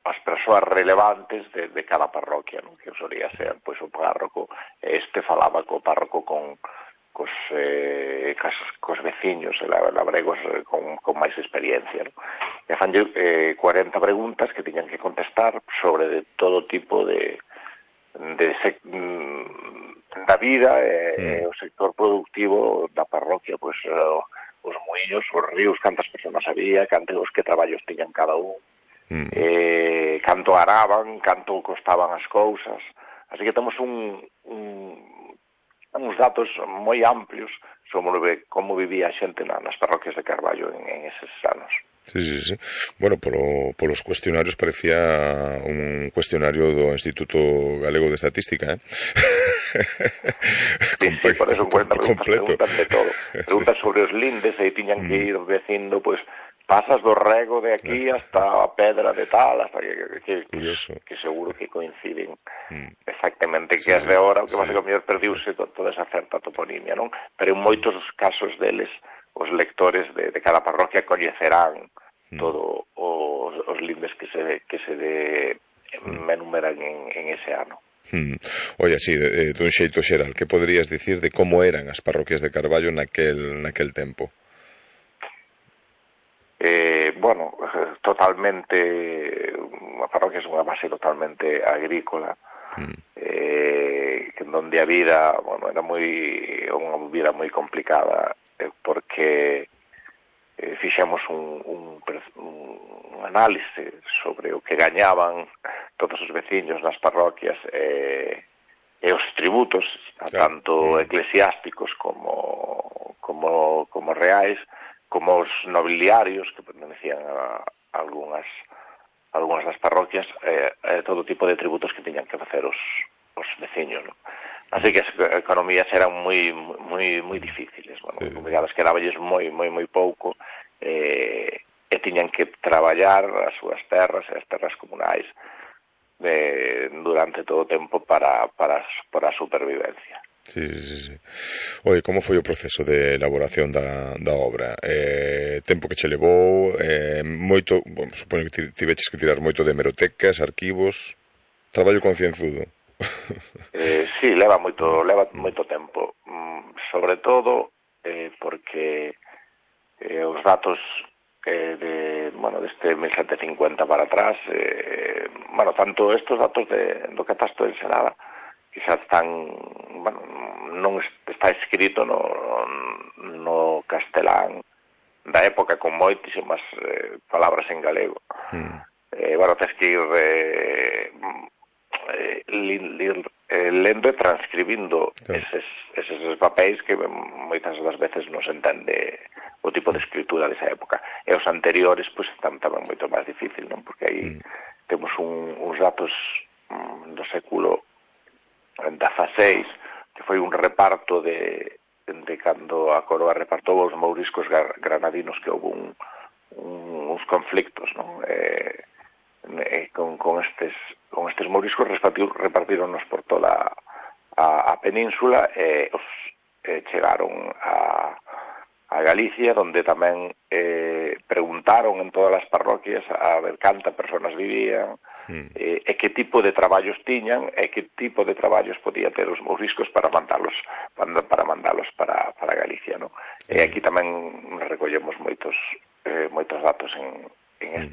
as persoas relevantes de cada parroquia, non? Que solía ser pois o párroco, falaba co párroco cos veciños labregos con máis experiencia, non? E fanlle 40 preguntas que tiñan que contestar sobre de todo tipo da vida e o sector productivo da parroquia, pois os muiños, os ríos, cantas persoas había, cantos que traballos tiñan cada un, canto araban, canto costaban as cousas. Así que temos uns datos moi amplios sobre como vivía a xente nas parroquias de Carballo en eses anos. Sí. Bueno, polos cuestionarios parecía un cuestionario do Instituto Galego de Estatística, Sí, por eso 40 preguntas de todo. Preguntas sobre os lindes, e tiñan que ir dicindo, pois, pasas do rego de aquí hasta a pedra de tal, hasta que seguro que coinciden exactamente que as de ahora, o que pasa que o mellor perdiuse toda esa certa toponimia, non? Pero en moitos casos deles, os lectores de cada parroquia coñecerán todo os lindes que se enumeran en ese ano. Oye, así, dun xeito xeral, que poderías dicir de como eran as parroquias de Carballo naquel tempo? Bueno, totalmente, a parroquia é unha base totalmente agrícola, en donde a vida, bueno, era unha vida moi complicada, porque fixemos un análise sobre o que gañaban todos os veciños nas parroquias e os tributos, tanto eclesiásticos como reais, como os nobiliarios que pertenecían a algunhas das parroquias, todo tipo de tributos que tiñan que facer os veciños, non? Así que as economías eran moi difíciles, bueno, as quedaballes moi pouco, e tiñan que traballar as súas terras e as terras comunais durante todo o tempo para a supervivencia. Sí. Oye, como foi o proceso de elaboración da obra? Tempo que che levou, moito, bueno, supoño que tiveches que tirar moito de hemerotecas, arquivos, traballo concienzudo. Sí, leva moito tempo, sobre todo porque os datos deste 1750 para atrás, tanto estes datos do catastro de Ensenada, que xa están, non está escrito no castelán da época con moitísimas palabras en galego. Tens que ir lendo e transcribindo eses papéis que moitas das veces non se entende o tipo de escritura desa época. E os anteriores, pois, están tamén moito máis difícil, non? Porque aí temos uns datos do século XVI, que foi un reparto de cando a coroa repartou os mouriscos granadinos, que houve uns conflictos, non? Con estes mouriscos repartíronnos por toda a península e chegaron a Galicia, donde tamén preguntaron en todas as parroquias a ver cantas persoas vivían, e que tipo de traballos tiñan, e que tipo de traballos podía ter os mouriscos para mandalos para Galicia, non? E aquí tamén recollemos moitos datos en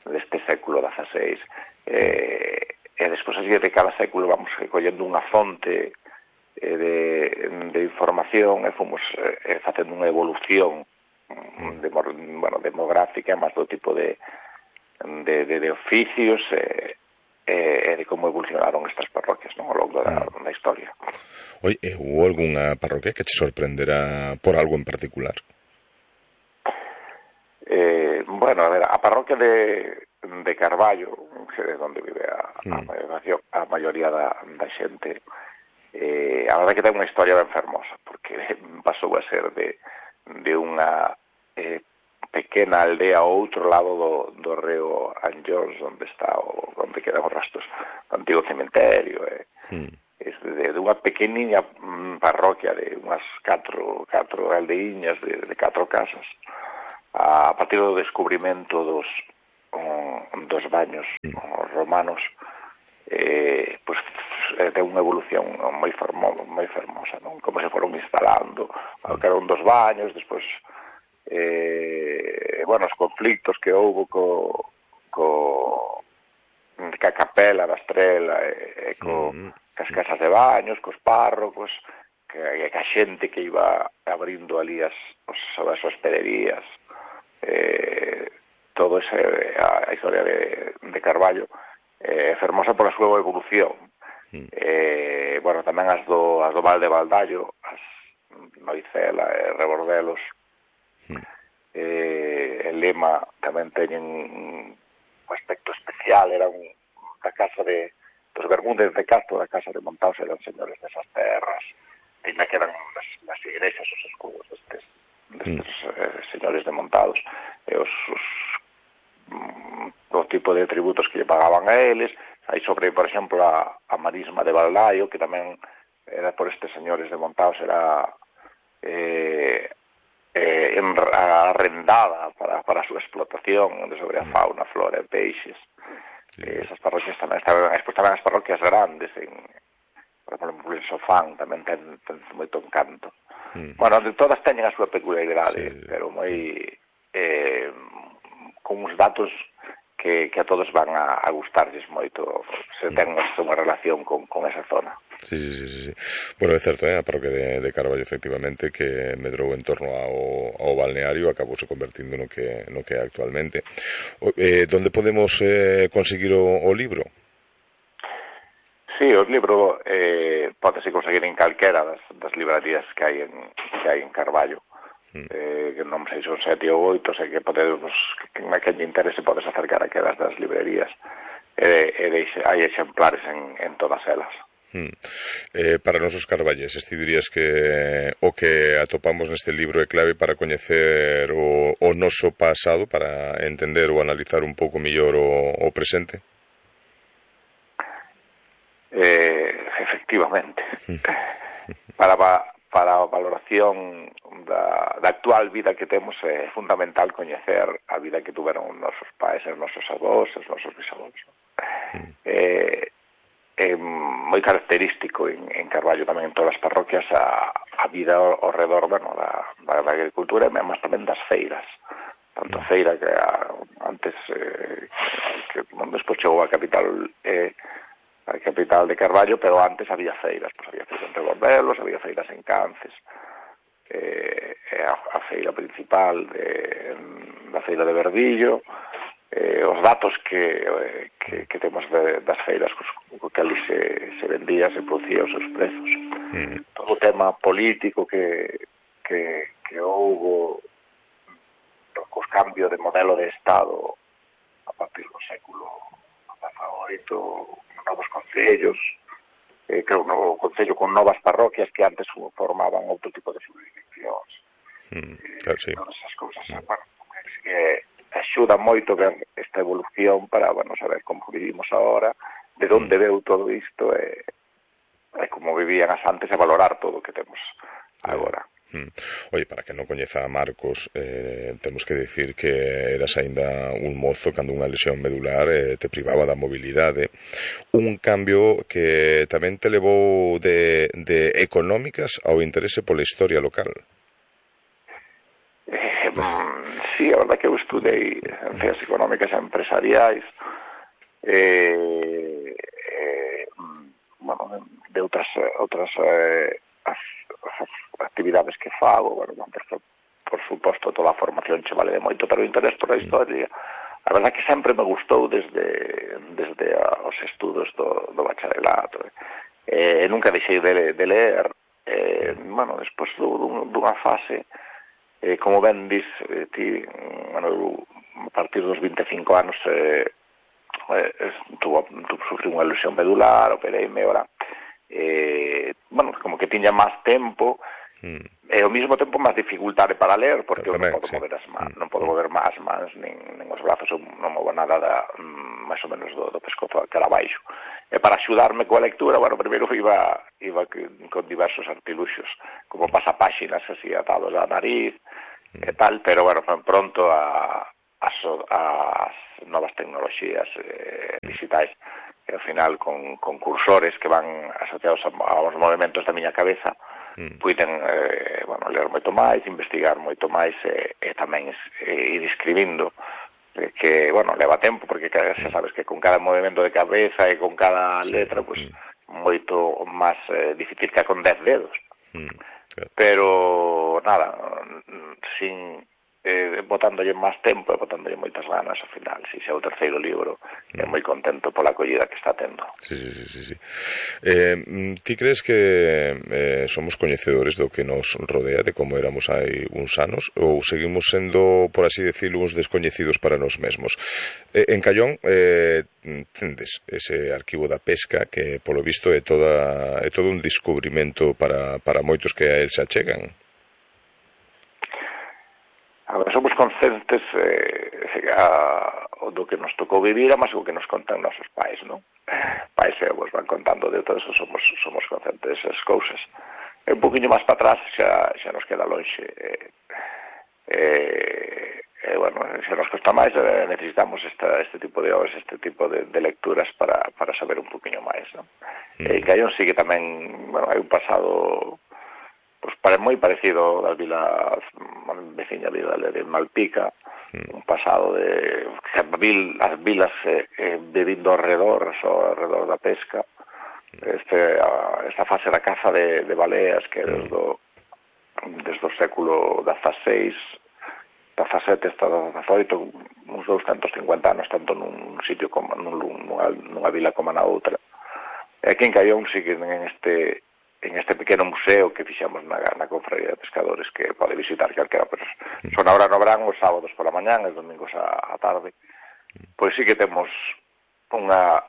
deste século XVI, e despois así de cada século vamos recollendo unha fonte de información e fomos facendo unha evolución demográfica, máis do tipo de oficios e de como evolucionaron estas parroquias, non, ao longo da historia. Oi, hubo algunha parroquia que te sorprenderá por algo en particular? A parroquia de Carballo, que é onde vive a maioría da xente, a verdade que ten unha historia ben fermosa, porque pasou a ser de unha pequena aldea ao outro lado do río Anllóns, onde quedan os restos do antigo cementerio, de unha pequeniña parroquia de unhas 4 aldeiñas de 4 casas. A partir do descubrimento dos baños romanos, pois ten unha evolución moi fermosa, non? Como se foron instalando, que eran dos baños, despois os conflictos que houbo ca capela da Estrela e cas casas de baños, cos párrocos, que a xente que iba abrindo ali as hospederías, todo ese, a historia de Carballo é fermosa pola súa evolución. Tamén as do Val de Valdallo, as Noicela e Rebordelos, e Lema tamén teñen un aspecto especial. Eran da casa dos Bermúdez de Castro, da casa de Montaos, eran señores desas terras, e que eran as igrexas, os escudos destes señores de Montados, e o tipo de tributos que lle pagaban a eles. Aí sobre, por exemplo, a marisma de Valdaio, que tamén era por estes señores de Montaos, era arrendada para a súa explotación sobre a fauna, flora e peixes. Esas parroquias tamén estaban as parroquias grandes, por exemplo, en Sofán tamén ten moito encanto. Todas teñen a súa peculiaridade, pero moi con uns datos que a todos van a gustarlles moito se ten unha relación con esa zona. Sí. Bueno, é certo, a parroquia de Carballo, efectivamente, que medrou en torno ao balneario, acabouse convertindo no que é actualmente. Donde podemos conseguir o libro? Sí, o libro pódese conseguir en calquera das librarías que hai en Carballo. Que non sei, son 7 ou 8, sei que podemos, que lle interese podes acercar a quedas das librerías, hai exemplares en todas elas. Para nosos carballeses, ti dirías que o que atopamos neste libro é clave para coñecer o noso pasado, para entender ou analizar un pouco mellor o presente? Efectivamente. Para a valoración da actual vida que temos é fundamental coñecer a vida que tuveron os nosos pais, os nosos avós, os nosos bisavós. É moi característico en Carballo, tamén en todas as parroquias, a vida ao redor da agricultura, e máis tamén das feiras. Tanto a feira que antes, que despois chegou a capital de Carballo, pero antes había feiras, había feiras en Rebordelos, había feiras en Cances, a feira principal da feira de Verdillo, os datos que temos das feiras que ali se vendía, se producía os seus prezos. Todo o tema político que houbo cos cambios de modelo de Estado a partir do século XVIII, novos concellos, creo un novo concello con novas parroquias que antes formaban outro tipo de jurisdiccións. Sí. Todas esas cousas, axuda moito ver esta evolución para, saber como vivimos agora, de onde veu todo isto e como vivían as antes, e valorar todo o que temos agora. Oye, para que non coñeza a Marcos, temos que decir que eras aínda un mozo cando unha lesión medular te privaba da mobilidade, un cambio que tamén te levou de económicas ao interese pola historia local. Sí, a verdad que eu estudei ciencias económicas e empresariais, de outras actividades que fago, por suposto toda a formación che vale de moito, pero o interés por a historia, a verdad que sempre me gustou desde os estudos do bacharelato, nunca deixei de ler, despois dunha fase, como ben dis ti, a partir dos 25 anos sufrí unha lesión medular, opereime, como que tiña máis tempo e ao mesmo tempo máis dificultade para ler, porque eu non podo mover as mans, non podo mover as mans nin os brazos, eu non movo nada máis ou menos do pescozo cara abaixo. E para axudarme coa lectura, primeiro iba con diversos artiluxos, como pasapáxinas así atados á nariz e tal, pero pronto as novas tecnoloxías digitais, e ao final con cursores que van asociados aos movimentos da miña cabeza, puiden ler moito máis, investigar moito máis e tamén ir escribindo, que, leva tempo, porque xa sabes que con cada movimento de cabeza e con cada letra, pues moito máis difícil que con 10 dedos. Pero nada, sin botándolle máis tempo e botándolle moitas ganas ao final. Si xa o terceiro libro, moi contento pola acollida que está tendo. Sí. Ti crees que somos coñecedores do que nos rodea, de como éramos hai uns anos, ou seguimos sendo, por así decirlo, uns descoñecidos para nós mesmos? En Callón tendes ese arquivo da pesca que, polo visto, é todo un descubrimento para moitos que a el se achegan. Agora, somos conscientes do que nos tocou vivir, mas o que nos contan nosos pais, non? Pais e avós van contando de todo eso, somos conscientes desas cousas. Un poquinho máis para atrás xa nos queda lonxe. Se nos costa máis, necesitamos este tipo de obras, este tipo de lecturas para saber un poquinho máis, non? E Callón sí que tamén, hai un pasado moi parecido das vilas, veciña vila de Malpica, un pasado de as vilas bebindo ao redor da pesca, esta fase da caza de baleas que desde o século XVI, 17 hasta 18, uns 250 anos, tanto nun sitio como nunha vila como na outra. E aquí en Callón sí que en este pequeno museo que fixamos na Confraría de Pescadores, que pode visitar calquera persoa. Son ahora no verán os sábados pola mañán e os domingos á tarde. Pois sí que temos unha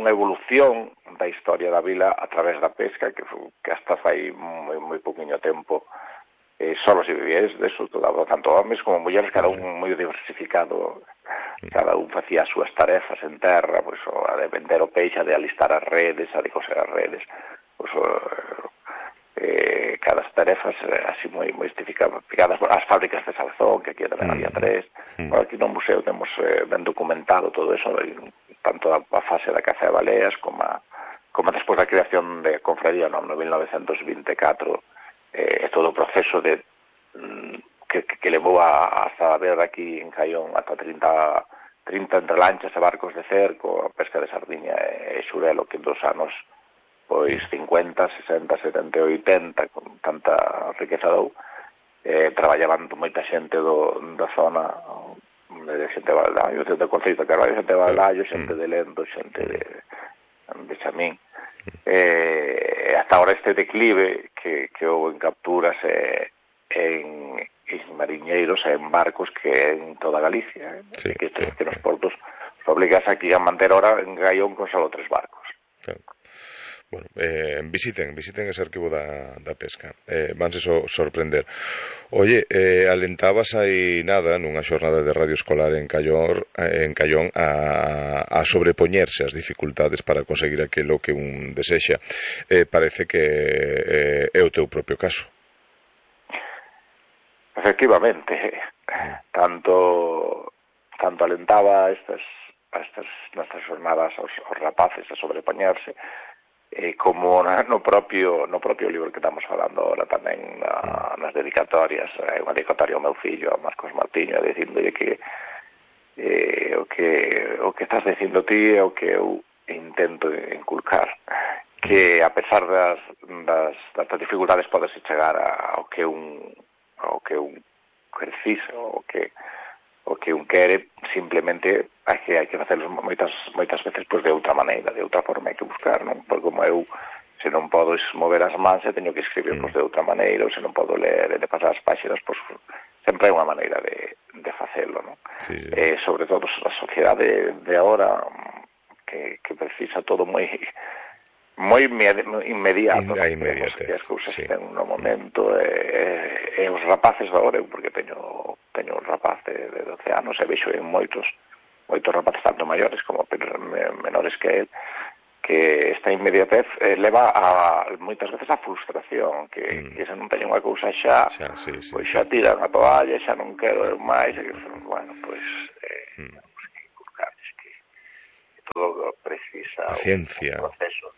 evolución da historia da vila a través da pesca que hasta fai moi pouquiño tempo solo se vivía eso, tanto homes como mulleres, cada un moi diversificado, cada un facía as súas tarefas en terra, pois a de vender o peixe, a de alistar as redes, a de coser as redes, cada as tarefas así moi estificadas, as fábricas de Salzón, que aquí tamén había 3. Aquí no museo temos ben documentado todo eso, tanto a fase da caza de baleas como despois da creación de Confraría no 1924, todo o proceso que levou hasta ver aquí en Callón ata 30 entre lanchas e barcos de cerco, a pesca de sardiña e xurelo, que en 2 anos pois 50, 60, 70 e 80 con tanta riqueza dou, traballaban moita xente da zona, xente de Valdaio, xente de Conceito de Carvalho, xente de Valdaio, xente de Lendo, xente de Chamín. Hasta ahora este declive que houve en capturas en mariñeiros e en barcos que en toda Galicia, que nos portos obligas aquí a manter ahora en Callón con solo 3 barcos. Bueno, visiten ese arquivo da pesca, vanse sorprender. Oye, alentabas aí nada nunha xornada de radio escolar en Callón a sobrepoñerse as dificultades para conseguir aquilo que un desexa. Parece que é o teu propio caso. Efectivamente, tanto alentaba estas xornadas aos rapaces a sobrepoñerse, como no propio libro que estamos falando ahora tamén nas dedicatorias, unha dedicatoria ao meu fillo, a Marcos Martiño, dicíndolle que o que estás dicindo ti é o que eu intento inculcar, que a pesar das dificultades podes chegar ao que un precisa, o que un quere, simplemente hai que facerlo moitas veces pois de outra maneira, de outra forma hai que buscar, non? Porque como eu, se non podo mover as mans, teño que escribir pois de outra maneira, ou se non podo ler e de pasar as páxinas, pois sempre hai unha maneira de facelo, non? Sí. Sobre todo a sociedade de agora que precisa todo moi inmediato, que as cousas ten no momento, e os rapaces agora, porque teño un rapaz de 12 anos e vexo en moitos rapaces tanto maiores como menores que él, que esta inmediatez leva moitas veces a frustración, que se non teño unha cousa xa, pois xa tiran a toalla, xa non quero máis, bueno, pois todo precisa paciencia, un proceso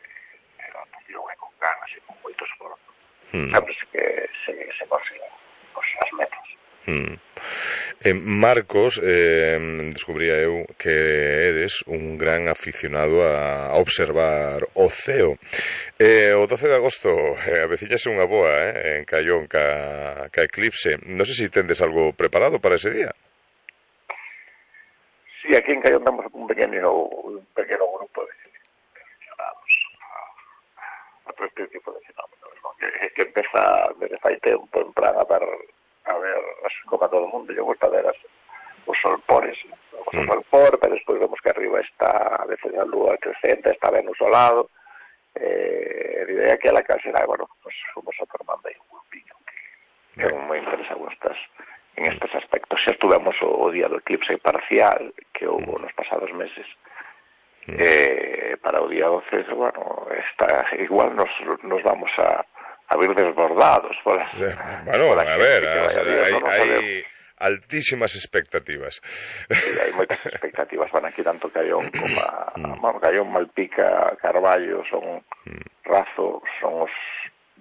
de adaptación e con ganas e con moito esforzo. Sabes que se consiguen as metas. Marcos, descubría eu que eres un gran aficionado a observar o ceo. O 12 de agosto avecíllase unha boa en Caión ca eclipse. Non sei se tendes algo preparado para ese día. Sí, aquí en Caión temos un pequeno grupo de aficionados a todo este tipo de fenómenos, ¿no? que empeza desde fai tempo en plan a ver como a todo o mundo. Yo gusta ver os solpores, o solpor, pero despois vemos que arriba está a veces a lúa crecente, está Venus ao lado, e de aquela case era, bueno, pues fomos a formando aí un grupinho que é moi interesado en estes aspectos. Xa estuvemos o día do eclipse parcial que houve nos pasados meses, para o día 12, bueno, igual nos vamos a vir desbordados por bueno, a ver, hai altísimas expectativas. Sí, hai moitas expectativas, van aquí tanto Caión como bueno, Caión, Malpica, Carballo, son Razo, son os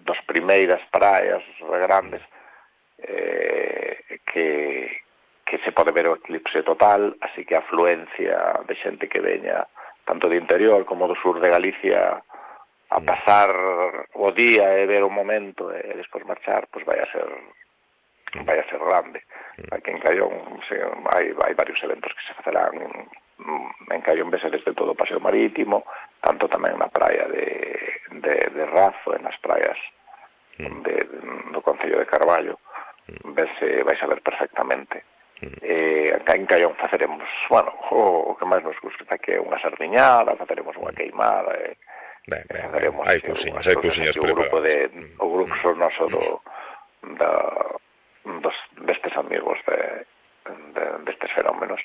dos primeiras praias grandes que se pode ver o eclipse total, así que a afluencia de xente que veña tanto de interior como do sur de Galicia a pasar o día e ver o momento e despois marchar, pois vai a ser grande. Aquí en Caión hai varios eventos que se facerán en Caión, vese desde todo o paseo marítimo, tanto tamén na praia de Razo, en as praias do concello de Carballo, vais a ver perfectamente. Acá en Caión faceremos, bueno, o que máis nos gusta que é unha sardiñada, faceremos unha queimada, hai cousiñas preparadas. O grupo noso destes amigos destes fenómenos,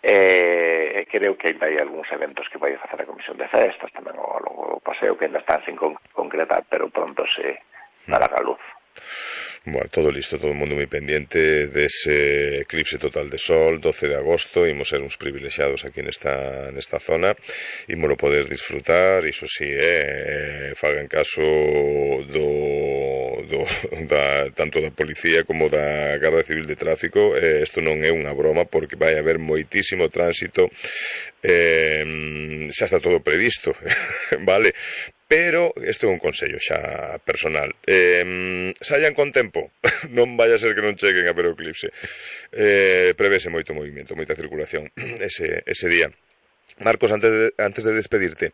creo que ainda hai algúns eventos que vai a facer a Comisión de Festas, tamén o paseo, que ainda están sin concretar, pero pronto se dará a luz. Bueno, todo listo, todo o mundo moi pendiente dese eclipse total de sol, 12 de agosto. Imos ser uns privilexiados aquí nesta zona, imos poder disfrutar, iso sí, fagan caso tanto da policía como da Garda Civil de Tráfico. Isto non é unha broma, porque vai haber moitísimo tránsito, xa está todo previsto, vale? Pero isto é un consello xa personal, saian con tempo, non vai a ser que non cheguen a ver o eclipse. Prevese moito movimento, moita circulación ese día. Marcos, antes de despedirte,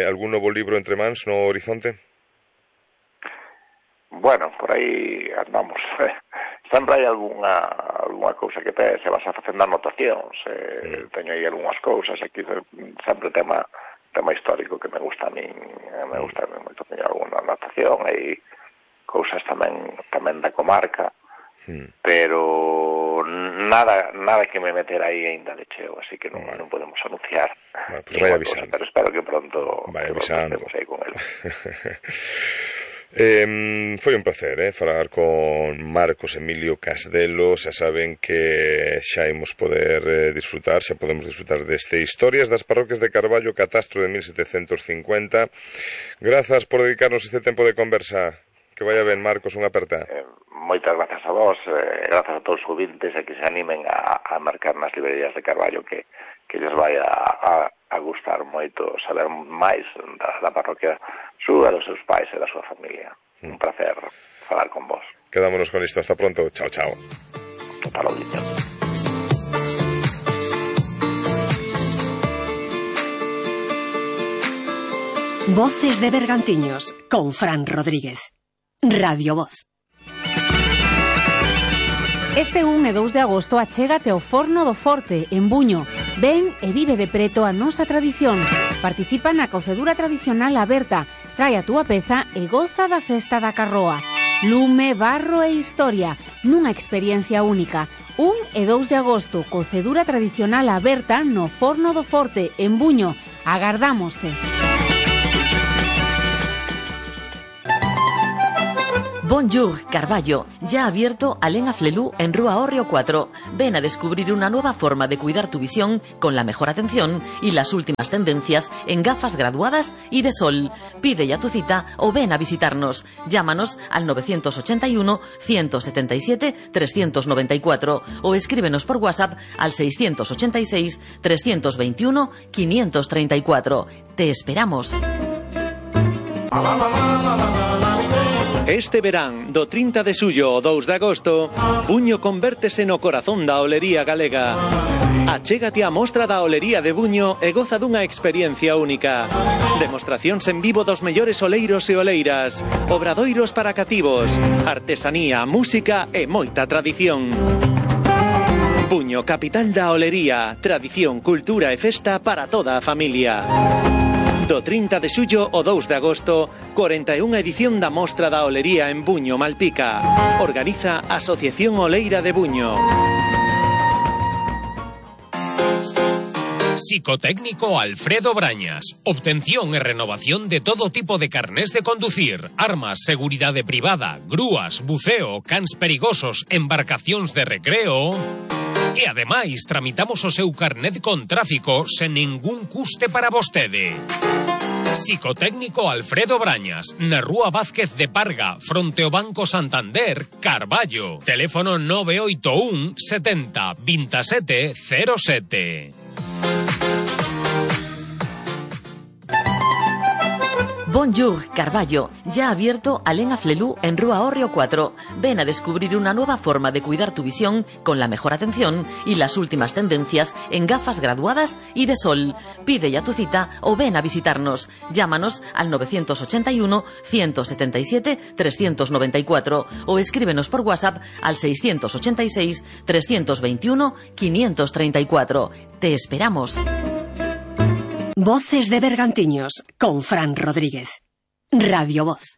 algún novo libro entre mans no horizonte? Bueno, por aí andamos. Sempre hai algunha cousa que se vas a facendo anotacións. Teño aí algunhas cousas aquí, sempre tema histórico que me gusta a mí moito. Teño alguna anotación, hai cousas tamén da comarca, pero nada que me meter aí ainda de cheo, así que non podemos anunciar. Bueno, pues vai avisando. Pero espero que pronto estemos aí con él. Foi un placer falar con Marcos Emilio Casdelo. Xa saben que xa imos poder disfrutar, xa podemos disfrutar deste Historias das Parroquias de Carballo, catastro de 1750. Grazas por dedicarnos este tempo de conversa. Que vaya ben, Marcos, unha aperta. Moitas grazas a vos, grazas a todos os ouvintes e que se animen a marcar nas librerías de Carballo, que lles vai a gustar moito saber máis da parroquia súa, dos seus pais e da súa familia. Un placer falar con vos. Quedámonos con isto, hasta pronto, chao, chao. Hasta logo. Voces de Bergantiños, con Fran Rodríguez. Radio Voz. Este 1 e 2 de agosto achégate ao Forno do Forte, en Buño. Ven e vive de preto a nosa tradición. Participa na cocedura tradicional aberta. Trae a túa peza e goza da festa da carroa. Lume, barro e historia, nunha experiencia única. 1 e 2 de agosto, cocedura tradicional aberta no Forno do Forte, en Buño. Agardámoste. Bonjour, Carballo. Ya ha abierto Alén Aflelú en Rúa Hórreo 4. Ven a descubrir una nueva forma de cuidar tu visión con la mejor atención y las últimas tendencias en gafas graduadas y de sol. Pide ya tu cita o ven a visitarnos. Llámanos al 981 177 394 o escríbenos por WhatsApp al 686 321 534. Te esperamos. Este verán, do 30 de xullo ao 2 de agosto, Buño convértese no corazón da olería galega. Achégate á mostra da olería de Buño e goza dunha experiencia única. Demostracións en vivo dos mellores oleiros e oleiras, obradoiros para cativos, artesanía, música e moita tradición. Buño, capital da olería, tradición, cultura e festa para toda a familia. Do 30 de xullo ao 2 de agosto, 41 edición da Mostra da Olería en Buño, Malpica. Organiza Asociación Oleira de Buño. Psicotécnico Alfredo Brañas. Obtención e renovación de todo tipo de carnés de conducir, armas, seguridade privada, grúas, buceo, cans perigosos, embarcacións de recreo. E ademais tramitamos o seu carnet con tráfico sen ningún custe para vostede. Psicotécnico Alfredo Brañas, na Rúa Vázquez de Parga, fronte ao Banco Santander, Carballo. Teléfono 981 70 27 07. Bonjour, Carballo. Ya ha abierto Alén Aflelú en Rúa Hórreo 4. Ven a descubrir una nueva forma de cuidar tu visión con la mejor atención y las últimas tendencias en gafas graduadas y de sol. Pide ya tu cita o ven a visitarnos. Llámanos al 981 177 394 o escríbenos por WhatsApp al 686 321 534. Te esperamos. Voces de Bergantiños con Fran Rodríguez. Radio Voz.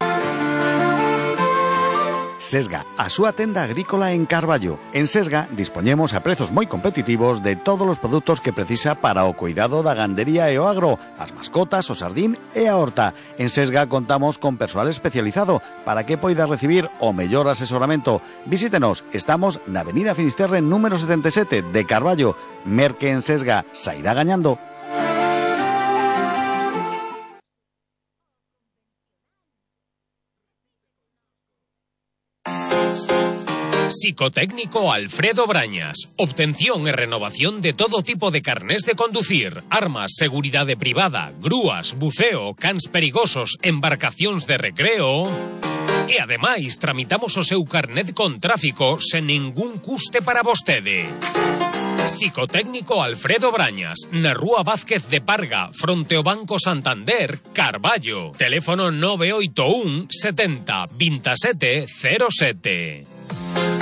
Sesga, a súa tenda agrícola en Carballo. En Sesga dispoñemos a prezos moi competitivos de todos os produtos que precisa para o cuidado da gandería e o agro, as mascotas, o sardín e a horta. En Sesga contamos con persoal especializado para que poida recibir o mellor asesoramento. Visítenos, estamos na Avenida Finisterre número 77 de Carballo. Merque en Sesga, sairá gañando. Psicotécnico Alfredo Brañas. Obtención e renovación de todo tipo de carnés de conducir, armas, seguridade privada, grúas, buceo, cans perigosos, embarcacións de recreo. E ademais tramitamos o seu carnet con tráfico sen ningún custe para vostede. Psicotécnico Alfredo Brañas, na Rúa Vázquez de Parga, fronte ao Banco Santander, Carballo. Teléfono 981 70 27 07.